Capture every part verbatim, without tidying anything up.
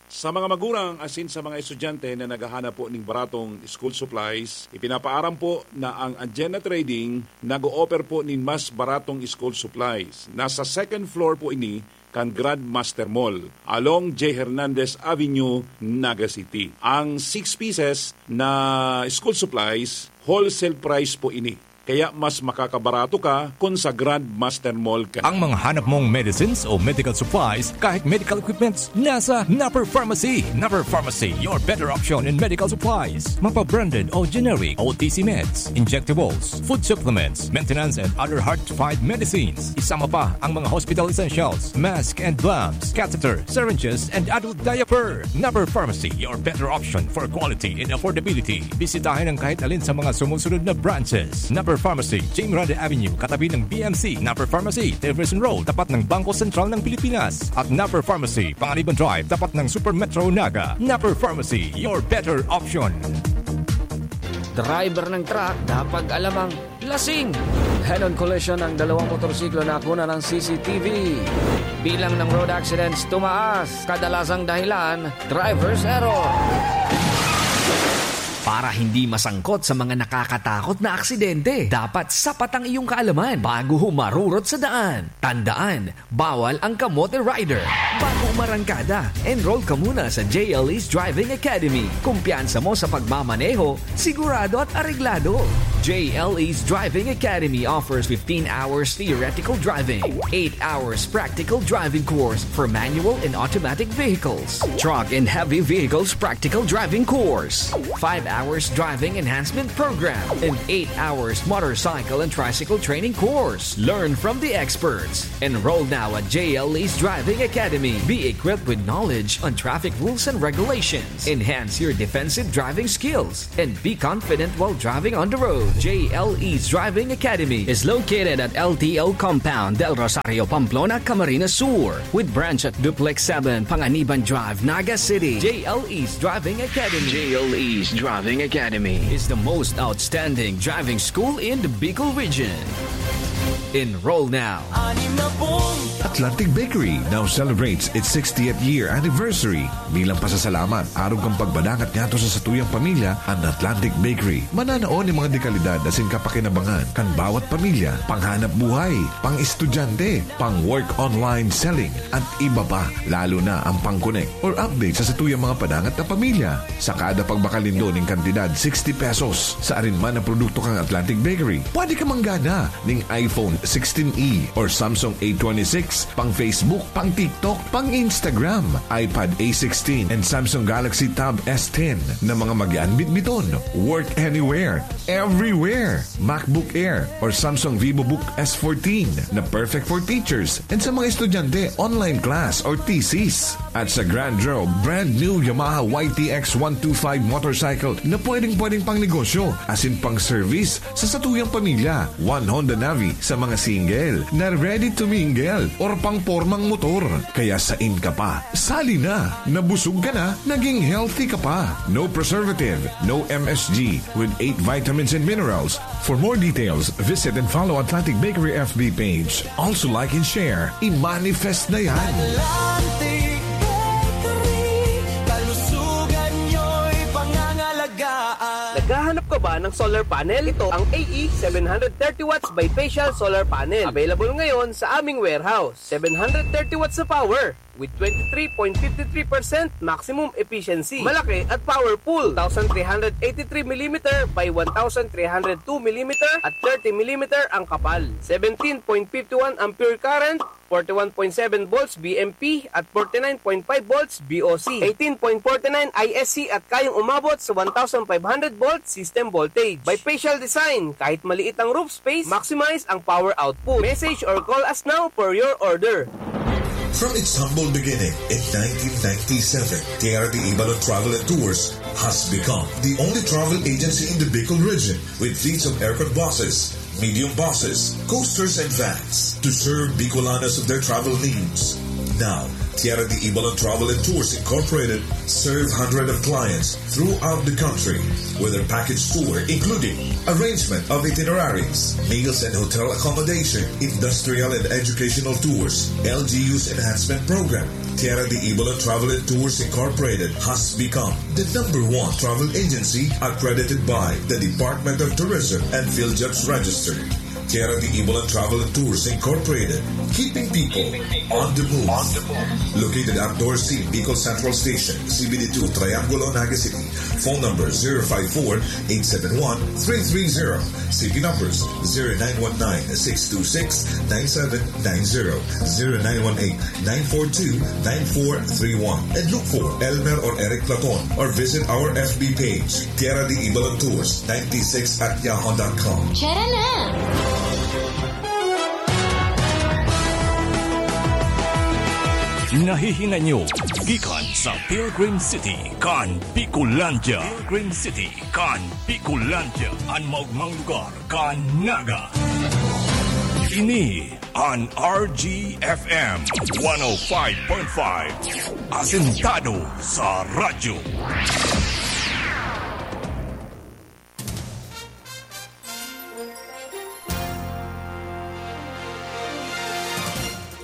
Sa mga magurang asin sa mga estudyante na naghahanap po ning baratong school supplies, ipinapaaram po na ang Anjena Trading nag-o-offer po nin mas baratong school supplies. Nasa second floor po ini kan Grandmaster Mall, along J. Hernandez Avenue, Naga City. Ang six pieces na school supplies, wholesale price po ini. Kaya mas makakabarato ka kun sa Grandmaster Mall ka. Ang mga hanap mong medicines o medical supplies, kahit medical equipments, nasa Napper Pharmacy. Napper Pharmacy, your better option in medical supplies. Mapa-branded o generic, O T C meds, injectables, food supplements, maintenance and other hard-to-find medicines. Isama pa ang mga hospital essentials, mask and gloves, catheter, syringes, and adult diaper. Napper Pharmacy, your better option for quality and affordability. Bisitahin ang kahit alin sa mga sumusunod na branches. Napper Pharmacy, Jing Grande Avenue, katabi ng B M C. Napper Pharmacy, Tiverson Road, tapat ng Bangko Sentral ng Pilipinas. At Napper Pharmacy, Panganiban Drive, tapat ng Super Metro Naga. Napper Pharmacy, your better option. Driver ng truck, dapat alamang lasing. Head-on collision ng dalawang motorsiklo na nakuna ng C C T V. Bilang ng road accidents tumaas, kadalasang dahilan, driver's error. Para hindi masangkot sa mga nakakatakot na aksidente, dapat sapat ang iyong kaalaman bago humarurot sa daan. Tandaan, bawal ang kamote rider. Bago umarangkada, enroll ka muna sa J L E's Driving Academy. Kumpiyansa mo sa pagmamaneho, sigurado at areglado. J L E's Driving Academy offers fifteen hours theoretical driving, eight hours practical driving course for manual and automatic vehicles, truck and heavy vehicles practical driving course, five hours driving enhancement program, and eight hours motorcycle and tricycle training course. Learn from the experts. Enroll now at J L E's Driving Academy. Be equipped with knowledge on traffic rules and regulations. Enhance your defensive driving skills and be confident while driving on the road. J L E's Driving Academy is located at L T O Compound, Del Rosario, Pamplona, Camarines Sur, with branch at Duplex seven, Panganiban Drive, Naga City. J L E's Driving Academy. J L E's Driving Academy is the most outstanding driving school in the Bicol region. Enroll now. Atlantic Bakery now celebrates its sixtieth year anniversary. Bilang pasasalamat, arog kan pagbadangat ngadto sa satuyang pamilya, an Atlantic Bakery mananao nin mga dekalidad asin kapakinabangan kan bawat pamilya, panghanap buhay, pang-estudyante, pang-work online selling, at iba pa, lalo na ang pang-connect or update sa satuyang mga padangat na pamilya. Sa kada pagbakal nindo nin kantidad sixty pesos sa arin man na produkto kan Atlantic Bakery, pwede ka manggana ning iPhone sixteen E or Samsung A twenty-six, pang Facebook, pang TikTok, pang Instagram, iPad A sixteen, and Samsung Galaxy Tab S ten na mga magian bitbiton. Work anywhere, everywhere. MacBook Air or Samsung VivoBook S fourteen na perfect for teachers and sa mga estudyante, online class or thesis. At sa Grand Draw, brand new Yamaha Y T X one two five motorcycle na pwedeng-pwedeng pang negosyo asin pang service sa satuyang pamilya. One Honda Navi sa mga single na ready to mingle or pang pormang motor. Kaya sain ka pa, sali na! Nabusog ka na, naging healthy ka pa. No preservative, no M S G, with eight vitamins and minerals. For more details, visit and follow Atlantic Bakery F B page. Also like and share. I-manifest na yan! Atlantic Bakery, kalusugan nyo'y pangangalagaan. Naghahanap ka ba ng solar panel? Ito ang A E seven hundred thirty watts bifacial solar panel. Available ngayon sa aming warehouse. Seven hundred thirty watts na power with twenty-three point fifty-three percent maximum efficiency. Malaki at powerful. Two thousand three hundred eighty-three millimeter by one thousand three hundred two millimeter at thirty millimeter ang kapal. Seventeen point fifty-one ampere current, forty-one point seven volts B M P at forty-nine point five volts B O C, eighteen point forty-nine I S C at kayang umabot sa one thousand five hundred volt system voltage. Bifacial design, kahit maliit ang roof space, maximize ang power output. Message or call us now for your order. From its humble beginning in nineteen ninety-seven, K R D Ibalon Travel and Tours has become the only travel agency in the Bicol region with fleets of aircon buses, medium buses, coasters, and vans to serve Bicolanos of their travel needs. Now, Tierra de Ibalan Travel and Tours Incorporated serve hundreds of clients throughout the country with their package tour, including arrangement of itineraries, meals and hotel accommodation, industrial and educational tours, L G U's enhancement program. Tierra de Ibalan Travel and Tours Incorporated has become the number one travel agency accredited by the Department of Tourism and PhilJobs Register. Tierra de Ibalan Travel and Tours Incorporated, keeping people on the move. Located at Dorsey, Bicol Central Station, C B D two, Triangulo, Naga City. Phone number zero five four, eight seven one, three three zero. C P numbers zero nine one nine, six two six, nine seven nine zero, zero nine one eight, nine four two, nine four three one. And look for Elmer or Eric Platon or visit our F B page, Tierra de Ibalan Tours ninety-six at yahoo dot com. Tara na! Nahihinay nyo gikan sa Pilgrim City kan Bicolandia. Pilgrim City kan Bicolandia, an maogmang lugar kan Naga. Ini an R G F M one oh five point five, asentado sa radyo.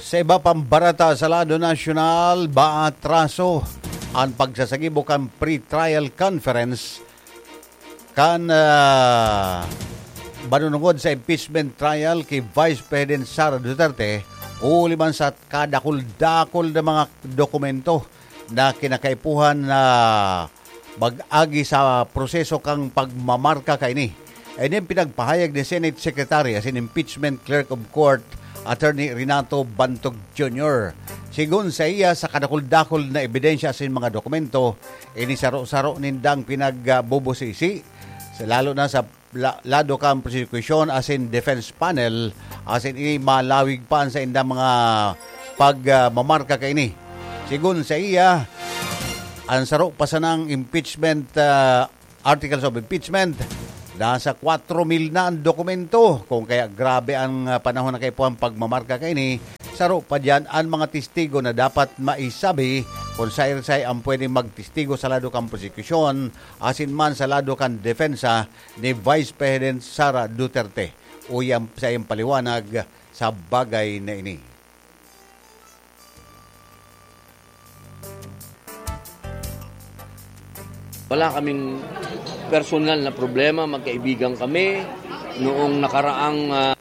Sa iba pang bareta sa lado nasyonal, maatraso an pagsasagibo kan pre-trial conference kan, ah, manunungod sa impeachment trial ki Vice President Sara Duterte, huli man sa kadakul-dakul na mga dokumento na kinakaipuhan na mag-agi sa proseso kan pagmamarka kaini. Ini an pinagpahayag ni Senate Secretary asin Impeachment Clerk of Court, Attorney Renato Bantog Junior. Sigon saiya, sa kadakul-dakul na ebidensya asin mga dokumento, ini saro-saro nindang pinagbubusisi, sa, lalo na sa la-, lado kan prosekusyon asin defense panel, asin ini malawig pa an saindang mga pag, ah, mamarka kaini. Sigon saiya, an saro pa sanang impeachment, ah, articles of impeachment, nasa kwatro mil na an dokumento. Kung kaya grabe an, ah, panahon na kaipuhan pagmamarka kaini, saro pa diyan an mga testigo na dapat maisabi kung saen-saen an pwedeng magtestigo sa lado kan prosekusyon asin man sa lado kan depensa ni Vice President Sara Duterte. Uya an saiyang paliwanag sa bagay na ini. Wala kaming personal na problema, magkaibigan kami. Noong nakaraang, ah,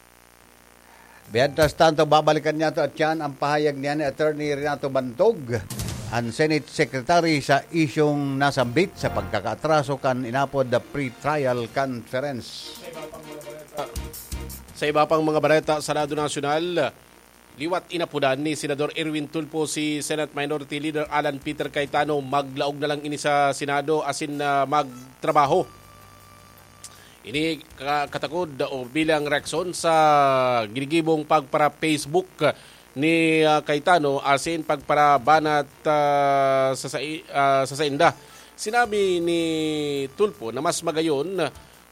Mientras tanto, babalikan niyato at yan ang pahayag niya ni Attorney Renato Bantog, ang Senate Secretary, sa isyung nasambit sa pagkakaatraso kan inapod na pre-trial conference. Sa iba pang mga bareta sa lado nasyonal, liwat inapodan ni Senador Erwin Tulfo si Senate Minority Leader Alan Peter Cayetano maglaog na lang ini sa Senado asin, ah, magtrabaho. Ini ka-, katakod o bilang reaksyon sa ginigibong pagpara-Facebook ni, ah, Cayetano asin pagparabanat, ah, sa sai-, ah, sa sainda. Sinabi ni Tulfo na mas magayon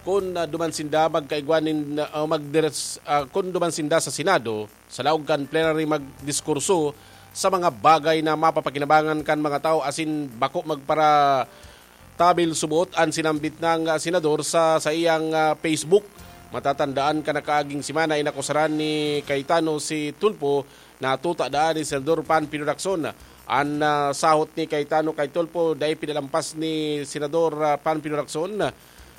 kun, ah, duman sinda magkaigwa nin, ah, magdiris-, ah, kun duman sinda sa Senado, sa laog kan plenary magdiskurso sa mga bagay na mapapakinabangan kan mga tawo asin bako magpara-, tabil subot an sinambit nang, ah, senador sa saiyang, ah, Facebook. Matatandaan kan nakaaging semana, inakusaran ni Cayetano si Tulfo na tuta daan ni Senador Panfilo Lacson. An, ah, sahot ni Cayetano kay Tulfo dai pinalampas ni Senador, ah, Panfilo Lacson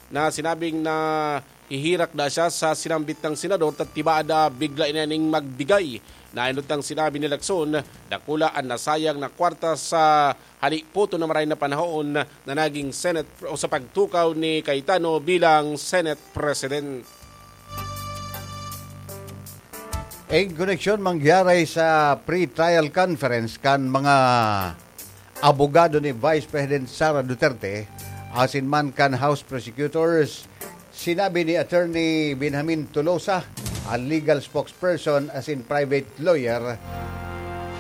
na sinabing nahihirak daa siya sa sinambit nang senador ta tibaad daa bigla ini ning magbigay. Nainot nang sinabi ni Lacson, dakula an nasayang na kwarta sa hali puto na maray na panahon na naging Senate o sa pagtukaw ni Cayetano bilang Senate President. In koneksyon mangyari sa pre-trial conference kan mga abogado ni Vice President Sara Duterte asin man kan House Prosecutors, sinabi ni Attorney Benjamin Tolosa, ang legal spokesperson asin private lawyer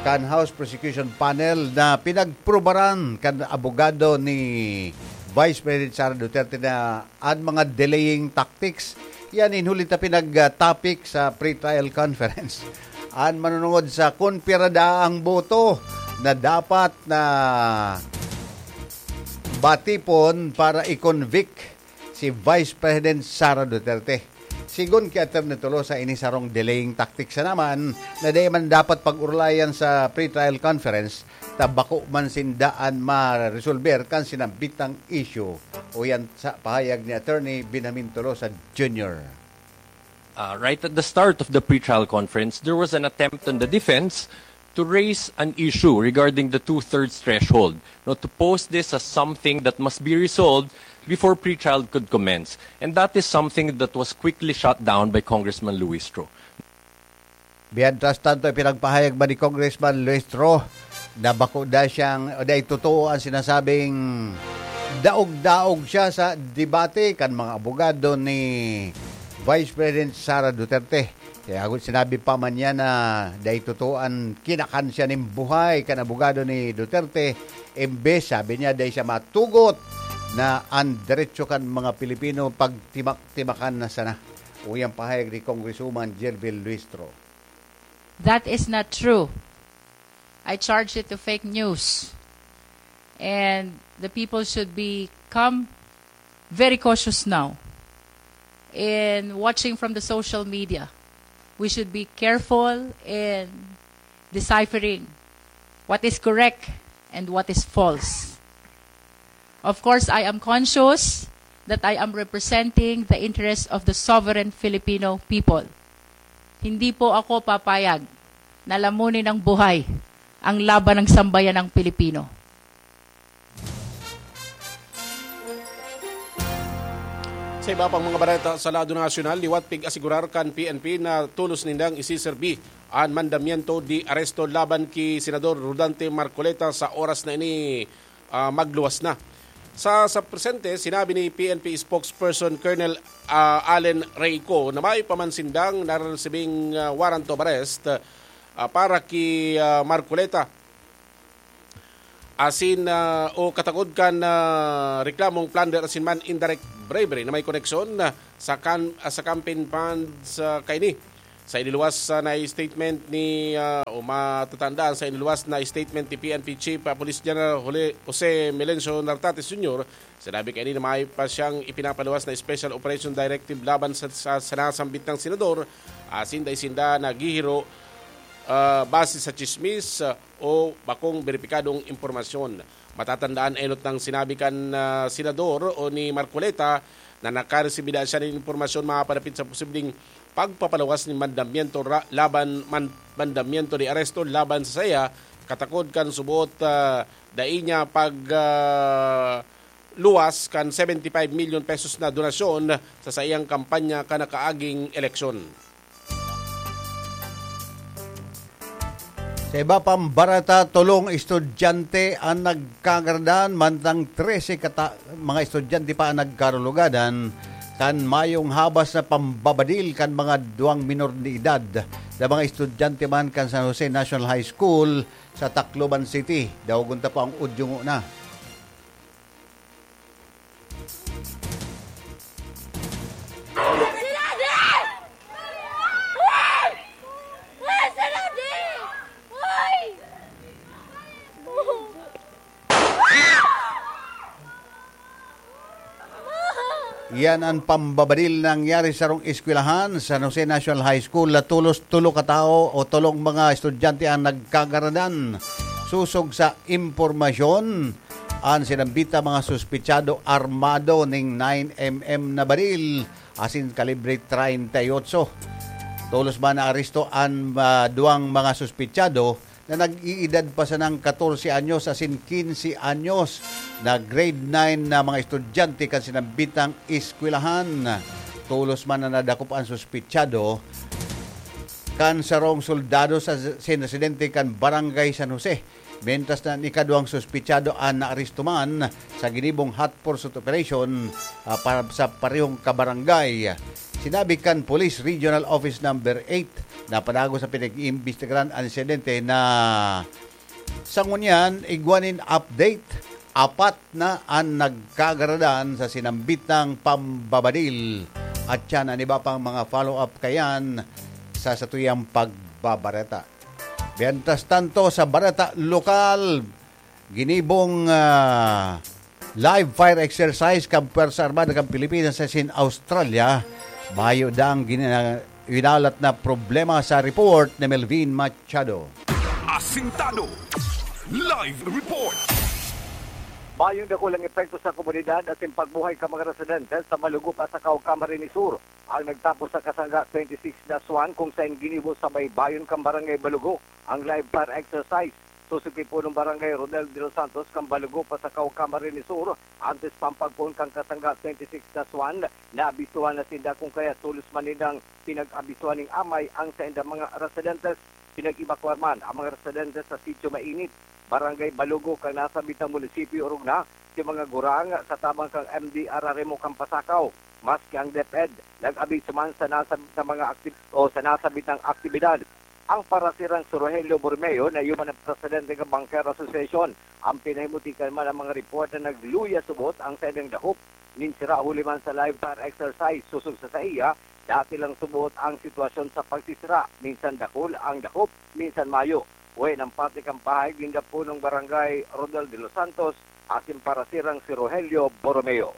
kan House Prosecution Panel, na pinagprubaran kan abogado ni Vice President Sara Duterte na an mga delaying tactics. Yan in huli ta pinag-topic sa pre-trial conference. An manunungod sa kun pira daa ang boto na dapat na batipon para i-convict si Vice President Sara Duterte. Sigon ki Attorney Tolosa, ini sarong delaying tactic sana man na dai man dapat pag-urulayan sa pre-trial conference ta bako man sinda an maresolber kan sinambitang issue. Uyan sa pahayag ni Attorney Benjamin Tolosa Junior. Uh, right at the start of the pre-trial conference, there was an attempt on the defense to raise an issue regarding the two-thirds threshold, no, to pose this as something that must be resolved before pre-trial could commence. And that is something that was quickly shot down by Congressman Luistro. Mientras tanto, ipinagpahayag man ni Congressman Luistro na bako da siyang, o dai totoo ang sinasabing daog-daog siya sa debate kan mga abogado ni Vice President Sara Duterte. Kaya ako sinabi pa man niya na dai totoo an kinakan siya nin buhay kan abogado ni Duterte. Imbes, sabi niya, dai siya matugot na an derecho kan mga Pilipino pagtimak-timakan na sana. Uyang pahayag ni Congresswoman Jervil Luistro. That is not true. I charge it to fake news. And the people should become very cautious now in watching from the social media. We should be careful in deciphering what is correct and what is false. Of course, I am conscious that I am representing the interests of the sovereign Filipino people. Hindi po ako papayag na lamunin ng buhay ang laban ng sambayanang Pilipino. Sa iba pang mga bareta sa lado nasyonal, liwat pig-asigurar kan P N P na tolos nindang isiserbi an mandamiento de aresto laban ki Senador Rodante Marcoleta sa oras na ini, ah, magluwas na. Sa, sa presente, sinabi ni P N P spokesperson Colonel, ah, Allen Reyco na mayo pa man sindang naresibing, ah, warrant of arrest, ah, para ki, ah, Marcoleta asin, ah, o katakod kan, ah, reklamong plunder asin man indirect bribery na may koneksyon, ah, sa kan-, ah, sa campaign funds, ah, kaini. Sa iniluwas, ah, na statement ni, ah, o matatandaan sa iniluwas na statement ni P N P Chief, ah, Police General Jole-, Jose Melencio Nartates Junior, sinabi kaini na mayo pa siyang ipinapaluwas na Special Operation Directive laban sa, sa, sa nasambit na senador, asin dai sinda naghihiro, ah, base sa tsismis, ah, o bakong beripikadong impormasyon. Matatandaan enot nang sinabi kan, ah, senador o ni Marcoleta na nakaresibi daa siya nin impormasyon mapapanapit sa posibleng pagpapaluwas nin mandamiento ra-, laban man-, mandamiento de aresto laban sa saiya, katakod kan subot, ah, dai niya pag, ah, luwas kan seventy-five million pesos na donasyon sa saiyang kampanya kan nakaaging eleksyon. Sa iba pang bareta, tolong estudyante an nagkagaradan, mantang trese kata-, mga estudyante pa an nagkarulugadan kan mayong habas na pambabadil kan mga duwang minor de edad na mga estudyante man kan San Jose National High School sa Tacloban City. Daogon ta po ang udyo ngona. Iyan an pambabadil na nangyari sa sarong eskwelahan, San Jose National High School, na tolos tolo ka tawo o tolong mga estudyante ang nagkagaradan. Sosog sa impormasyon, an sinambita mga suspitsado armado ning nine M M na baril asin kalibre treinta y ocho. Tolos man naaresto an, ah, duwang mga suspitsado na nag-iidad pa sanang katorse anyos asin kinse anyos na grade nine na mga estudyante kan sinambitang eskwelahan. Tolos man na nadakop an suspitsado kan sarong soldado sa sin residente kan Barangay San Jose, mientras na an ikaduwang suspitsado an naaresto man sa ginibong hot pursuit operation, ah, para sa parehong kabarangay. Sinabi kan Police Regional Office Number eight na padagos sa pinag-iimbestigaran an insidente na sa ngunyan, igwa nin update, apat na an nagkagaradan sa sinambitang pambabadil. At yan an iba pang mga follow-up kayan sa satuyang pagbabareta. Mientras tanto, sa balita lokal, ginibong ah, live fire exercise kan Puwersa Armada kan Pilipinas asin Australia. Mayo dang gina- winalat na problema sa report ni Melvin Machado. Asintado. Live report. Mayong dakulang epekto sa komunidad asin pagbuhay kan mga residente sa Balugo, Pasacao, Camarines Sur ang nagtapos sa Kasangga twenty-six dash one, kung saen ginibo sa baybayon kan Barangay Balugo ang live fire exercise. Sosog ki punong barangay Rodel de los Santos kan Balugo, Pasacao, Camarines Sur, antes pa ang pagpoon kan Kasangga twenty-six dash one, naabisuhan na sinda kung kaya tolos man nindang pinag-abisuhan ning amay ang saindang mga residentes. Pinag-ebakuar man ang mga residentes sa Sitio Mainit, Barangay Balugo, kan nasabitang munisipyo, orog na si mga gurang sa tabang kan M D R R M o kan Pasacao, maski ang DepEd nag-abiso man sa nasabitang mga akti- o sa nasabitang aktibidad. Ang parasirang si Rogelio Borromeo na iyo man ang presidente kan Banker Association. Ang pinahimutikan man ang mga report na nagluya subot ang saindang dahop nin sira huli man sa live fire exercise. Sosog sa saiya, dati lang subot ang sitwasyon sa pagsisira, minsan dakul ang dahop, minsan mayo. Uwi ng parte kan pahayag ninda punong barangay Rodel de los Santos asin parasirang si Rogelio Borromeo.